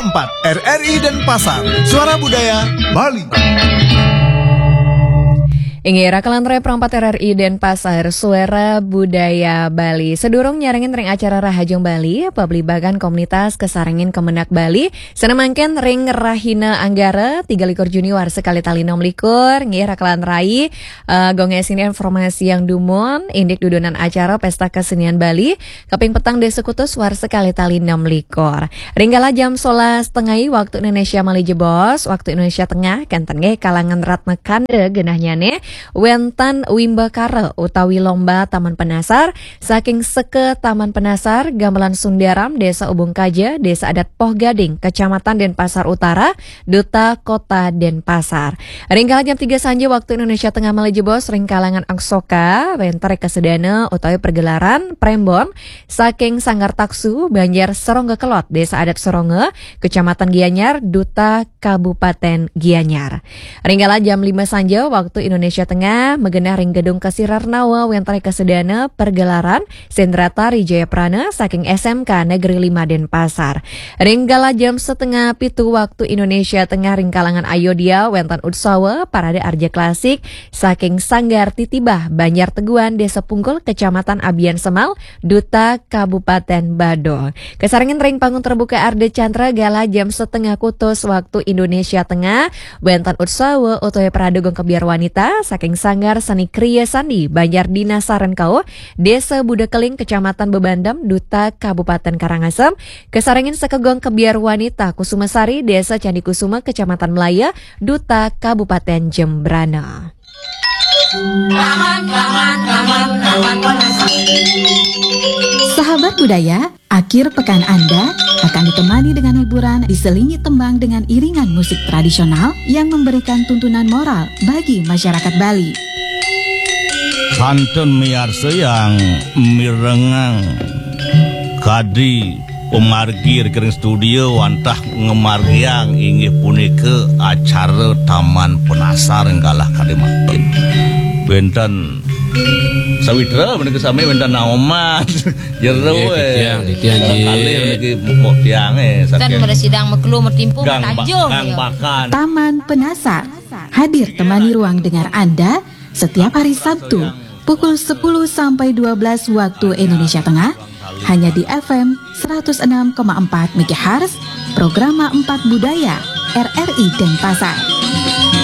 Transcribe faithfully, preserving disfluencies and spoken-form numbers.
empat R R I Denpasar, Suara Budaya Bali. Inggih, rakalan rai perempat R R I Denpasar, Suara Budaya Bali. Sadurung nyarengin ring acara Rahajeng Bali, pablibagan komunitas kasarengin Kemenag Bali, sané mangkin ring rahina Anggara, tiga likur Juni warsa kalih tali enam likur, nggih, rakalan rai, eh, gong ngesini informasi yang dumun, indik dudunan acara Pesta Kesenian Bali, kaping petang Désa Kutus warsa kalih tali enam likur. Ring galah jam solas tengai waktu Indonesia malih jebos, waktu Indonesia Tengah, kénten nggih kalangan Ratna Kanda genahnyané, wénten wimbakara utawi lomba Taman Penasar saking Seka Taman Penasar, Gamelan Sundaram, Désa Ubung Kaja, Désa Adat Poh Gading, Kecamatan Denpasar Utara, Duta Kota Denpasar. Ring galah jam tiga sanja waktu Indonesia Tengah malih jebos, ring kalangan Angsoka, wénten kasedana utawi pergelaran prembon saking Sanggar Taksu, Banjar Serongga Kelod, Désa Adat Serongga, Kecamatan Gianyar, Duta Kabupaten Gianyar. Ring galah jam lima sanja waktu Indonesia Tengah, magenah ring Gedung Kasirarnawa, wénten kasedana pergelaran Sendratari Jayaprana saking S M K Negeri lima Denpasar. Ring galah jam setengah pitu waktu Indonesia Tengah, ring kalangan Ayodhya wénten utsawa parade arja klasik saking Sanggar Titibah Banjar Teguan, Désa Punggul, Kecamatan Abian Semal, Duta Kabupaten Badung. Kasarengin ring panggung terbuka Ardha Candra galah jam setengah kutus waktu Indonesia Tengah, wénten utsawa utawi parade gong kebyar wanita saking Sanggar Seni Kriya Sandi Banjar Dinasaran Kauh, Désa Buda Keling, Kecamatan Bebandem, Duta Kabupaten Karangasem, kasarengin sakagong kebyar wanita Kusuma Sari, Désa Candi Kusuma, Kecamatan Melaya, Duta Kabupaten Jembrana. Sahabat budaya, akhir pekan Anda akan ditemani dengan hiburan diselingi tembang dengan iringan musik tradisional yang memberikan tuntunan moral bagi masyarakat Bali. Kantun miarsa yang mirengang kadi pemargi ring studio wantah ngamargiang inggih punika acara Taman Penasar ing galah kadi mangkin. Wénten sawitra menika sami wénten naoman. Jero Nggih, eh. titiang, titiang, nggih. Kalih niki mupuk tiang eh. Kan Saking pada sidang mekelu metimpu Gang Ba- metajung Gang ya. Bakan. Taman Penasar hadir temani ruang dengar Anda setiap hari Sabtu pukul sepuluh sampai dua belas waktu Indonesia Tengah hanya di F M seratus enam koma empat megahertz, Programa empat Budaya R R I Denpasar.